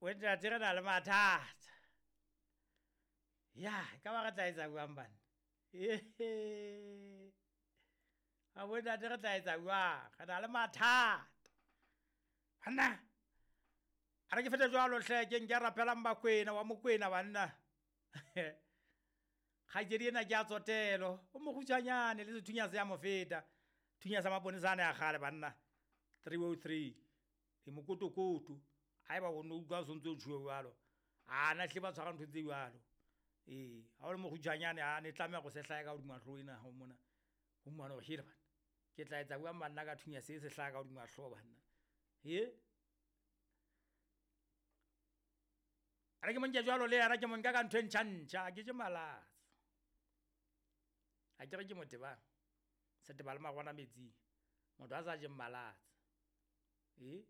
O ntate re na le mathata. Ya, e ka ba re tla etsa jwang banna? Ehe. A bo ntate re tla etsa jwang? Re na le mathata. Banna. A re ke fete jwalo hle ke nke rapelang Bakwena wa Mokwena banna. Kgaitsedi ena ke a tsotelo. O mokgutshwanyane le sethunya se a mo feta. Thunya sa maponesa a ne a kgale banna. 303. E mokotokoto. Haeba o no utlwa o sontse o tjhuwe jwalo. A na hle ba tshwara ntho tse jwalo. Ee, ha o le mokgutshwanyane a ne tlameha go se hlahe ka hodima hlooho ena ha o mona. O mmone hore hele banna. Ke tla etsa jwang banna ka thunya se se hlaha ka hodima hlooho banna. He? A re ke mo nke jwalo le yena ke mo nka ka ntho e ntjha-ntjha, a ke je malatsa. A ke re ke motebang. Seteba le marwana metsing. Motho a sa jeng malatsa. E?